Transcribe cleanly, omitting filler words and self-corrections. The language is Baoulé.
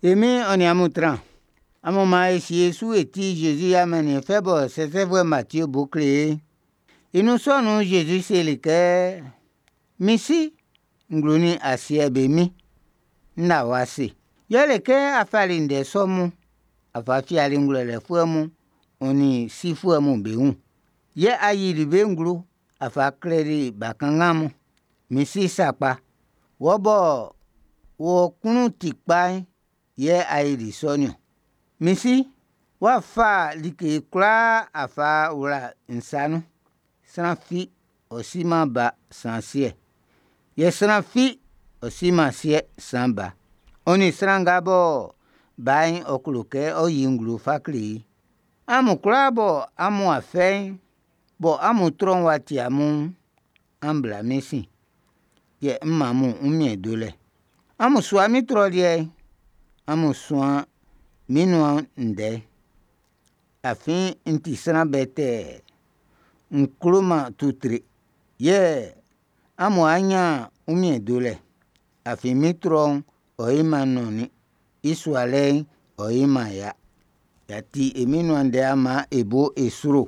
E Min'n ɔ nin amun tran. Amun man e sie e su e ti Jésus i amanniɛn fɛ bɔ sɛsɛfuɛ Matie bo kle ye'n. I nun sɔ nun'n Jésus seli kɛ: Min Si, nglo nin asiɛ'n be Min, n la wɔ ase. Yɛle kɛ a fali ndɛ sɔ mun a fa fiali ngwlɛlɛfuɛ mun, ɔ nin sifuɛ mun be wun. Yɛ a yili be nglo a fa kleli bakanngan mun. Min Si sakpa, wɔ bɔ wɔ klun ti kpa'n yɛ a yoli sɔ nin-ɔn. Min Si, w'a fa like kwlaa a fa wla n sa nun. Sran fi ɔ si-man Ba san Siɛ'n, yɛ sran fi ɔ si-man Siɛ'n san Ba, ɔ nin sran nga bɔ Ba'n ɔ klo kɛ ɔ yi i nglo fa kle i'n. Amun kwlaa bɔ amu'an fɛ'n, bɔ amun trɔ'n w'a ti amun'n, an bla mín sin, yɛ m ʼman amun wunmiɛn delɛ. Amun sua min trɔ liɛ'n, amun suan mín nuan ndɛ'n, afin n ti sran bɛtɛɛ, n klo-man tutre, yɛ amu'an nyan wunmiɛn delɛ, afin min trɔ'n ɔ yo-man nɔnnin, i sualɛ'n ɔ yo-man ya. Y'a ti e Min'n nuan ndɛ'n, an man e bo e sro.